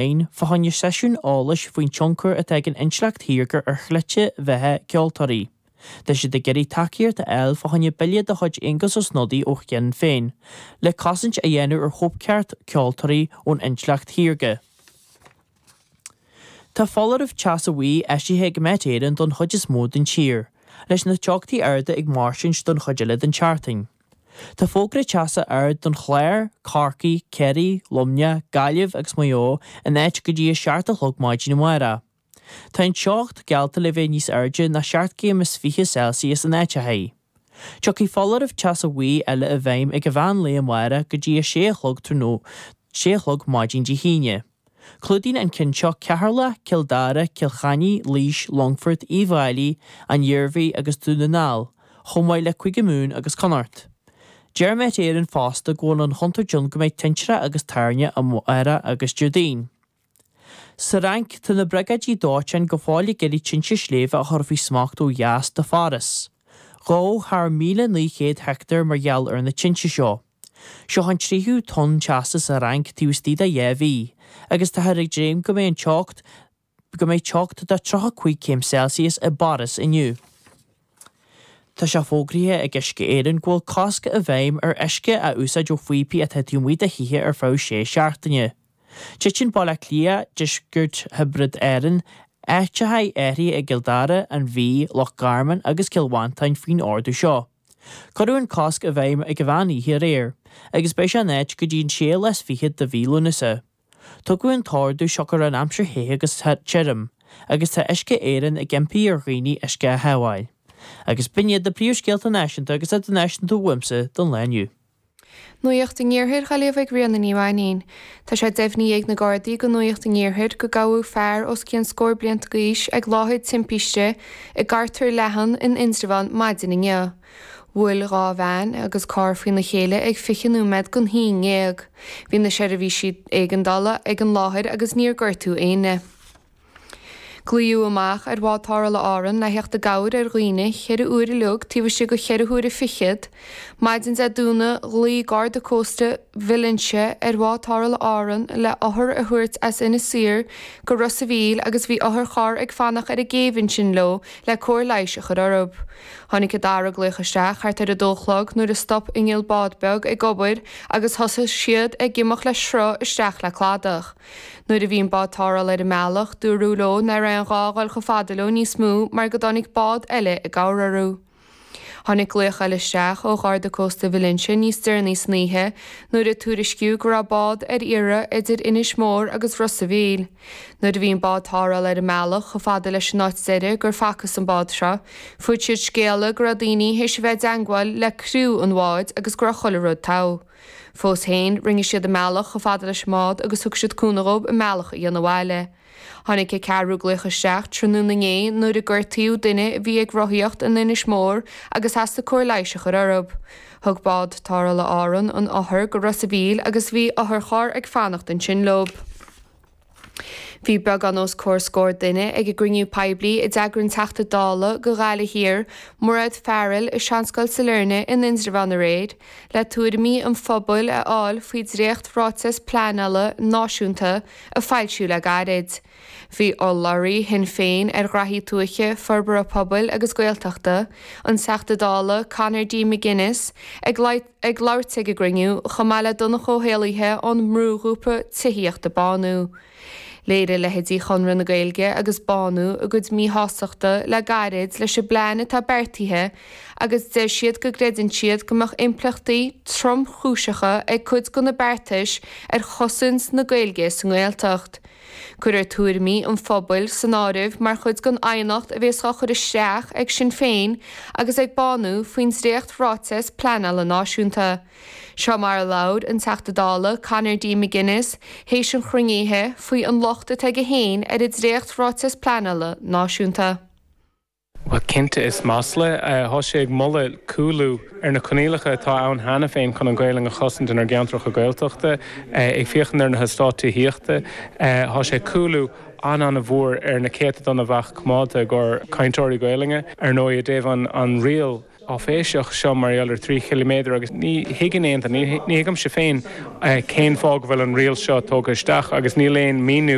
Féin fá choinne seisiún eolais faoin tionchar atá ag an intleacht shaorga ar shlite bheatha ceoltóirí. Tá siad ag iarraidh tacaíocht a fháil fá choinne bille de chuid Aengus Ó Snodaigh ó Shinn Féin le cosaint a dhéanamh ar chóipcheart ceoltóirí ón intleacht shaorga. Tá foláireamh teasa bhuí eisithe ag Met Éireann don chuid is mó den tír, leis na teochtaí arda ag mairstint don chuid eile den tseachtain. Tá fógra teasa ard don Chlár, Corcaigh, Ciarraí, Luimneach, Gaillimh agus Maigh Eo in áit go dtí a 7 a chlog maidin amárach. Tá an teocht geallta le bheith níos airde ná 7 gcéim is 20 Celsius in áiteachaí. Tiocfaidh foláireamh teasa bhuí eile i bhfeidhm ag an mheán lae amárach go dtí a 6 a chlog tráthnóna, 6 a chlog maidin Dé hAoine. Clúdaíonn an ceann seo Ceatharlach, Cill Dara, Cill Chainnigh, Laois, Longfort, Uíbh Fhailí, An Iarmhí agus Dún na nGall, chomh maith le Cúige Mumhan agus Connacht. Deir Met Éireann fosta go bhfuil an chontúirt ann go mbeidh tintreach agus toirne amárach agus Déardaoin. Sa Fhrainc, tá na briogáidí dóiteáin go fóill ag iarraidh tinte sléibhe a chur faoi smacht ó dheas de Pháras. Dhódh thar 1,900 heicteár mar gheall ar na tinte seo. Seo an tríú tonn teasa sa Fhrainc taobh istigh de dheich mhí, agus táthar ag dréim go mbeidh an teocht go mbeidh teocht de 35 céim Celsius i bPáras inniu. Tá sé fógraithe ag Uisce Éireann go bhfuil cosc i bhfeidhm ar uisce a úsáid ó phíopaí atá taobh amuigh de thithe ar feadh sé seachtaine. Titeann Baile Átha Cliath, deisceart Thiobraid Árann, áiteacha áirithe i gCill Dara, An Mhí, Loch Garman agus Cill Mhantáin faoin ordú seo. Cuireadh an cosc i bhfeidhm ag an mheán oíche aréir, agus beidh sé in áit go dtí an séú lá is fichead de mhí Lúnasa. Tugadh an t-ordú siocair an aimsir the agus tirim, agus tá Uisce Éireann ag impí ar dhaoine uisce a shábháil. Agus b'in iad na príomhscéalta náisiúnta agus idirnáisiúnta uaimse don lá inniu. Nuacht an Iarthair á léamh ag Ríona Ní Mhainín. Tá sé deimhnithe ag na Gardaí do Nuacht an Iarthair go gabhadh fear os cionn scór blianta d'aois ag láthair timpiste i gCartar Leathan in Indreabhán maidin inniu. Bhuail dhá veain agus carr faoina chéile ag 20 nóiméad don haon ndéag. Bhí na seirbhísí éigeandála ag an láthair agus níor gortaíodh éinne. Glaodh amach ar bhád tarrthála Árann le theacht i gcabhair ar dhaoine cheithre huaire uilig taobh istigh de cheithre huaire fichead. Maidin Dé Domhnaigh ghlaoigh Garda Cósta Mhill Inse ar bhád tarrthála Árann le othar a thabhairt as Inis Oírr go Ros a' Mhíl agus bhí otharcharr ag fanacht ar an gcéibh ansin leo le cóir leighis a chur orthu. Tháinig an dara glaoch isteach thart ar a dó a chlog nuair a stop inneall bád beag ag obair agus thosaigh siad ag imeacht le sruth isteach le cladach. Nuair a bhí an bád tarrthála ar a mbealach, dúradh leo nach raibh aon ghá a dhul chomh fada leo níos mó mar go dtáinig bád eile i gcabhair orthu. Tháinig glaoch eile isteach ó Gharda Cósta Mhill Inse níos deireanaí san oíche nuair a tuairiscíodh go raibh bád ar iarraidh idir Inis Mór agus Ros a' Mhíl. Nuair a bhí an bád tarrthála ar a mbealach chomh fada leis an áit deiridh gur facthas an bád seo, fuair siad scéala go raibh daoine théis a bheith i dteangmháil le criú an bháid agus go raibh chuile rud togha. Fós féin, rinne siad a mbealach chomh fada leis an mbád agus thug siad cúnamh dhób a mbealach a dhéanamh abhaile. Tháinig an ceathrú glaoch isteach tráthnóna inné nuair a gortaíodh duine a bhí ag rothaíocht in Inis Mór agus theastaigh cóir leighis a chur orthu. Thug bád tarrthála Árann an othar go Ros a' Mhíl agus bhí otharcharr ag fanacht ansin leo. Bhí beagán os comhair scór duine ag an gcruinniú poiblí a d'eagraigh an Teachta Dála do Ghaillimh Thiar, Mairéad Farrell, i Seanscoil Sailearna in Indreabhán aréir, le tuairimí an phobail a fháil faoi dhréacht-Ráiteas Pleanála Náisiúnta a foilsíodh le gairid. Bhí urlabhraí Shinn Féin ar ghraithí tuaithe, forbartha pobail agus Gaeltachta, an Teachta Dála Conor D. McGuinness, ag ag labhairt ag an gcruinniú, chomh maith le Donncha Ó hÉallaithe ón mbrúghrúpa tithíochta Bánú. Léirigh leithéidí Chonradh na Gaeilge agus Bánú a gcuid míshástachta le gairid leis an bplean atá beartaithe agus deir siad go gcreideann siad go mbeadh impleachtaí tromchúiseacha ag cuid de na beartais ar chosaint na Gaeilge sa nGaeltacht. Cuirfear tuairimí an phobail san áireamh mar chuid den aighneacht a bhéas á chur isteach ag Sinn Féin agus ag Bánú faoin dréacht-Ráiteas Pleanála Náisiúnta. Seo mar a labhair an Teachta Dála Conor D. McGuinness théis an chruinnithe faoi an locht atá aige féin ar an dréacht-Ráiteas Pleanála Náisiúnta. Bhuel, cinnte, is masla. Tá sé ag moladh cúlú ar na coinníollacha atá ann cheana féin chun an Ghaelainn a chosaint inár gceantracha Gaeltachta. Ag féachaint ar na heastáit tithíochta, tá sé cúlú an-an-mhór ar na céatadán a bheadh coimeádta i gcomhair cainteoirí Gaelainne. Ar ndóigh, i dtaobh an riail. áiféiseach seo mar gheall ar 3 chiliméadar agus ní thuigeann aon duine, ní thuigimse féin cén fáth go bhfuil an riail seo tógtha isteach agus níl aon míniú.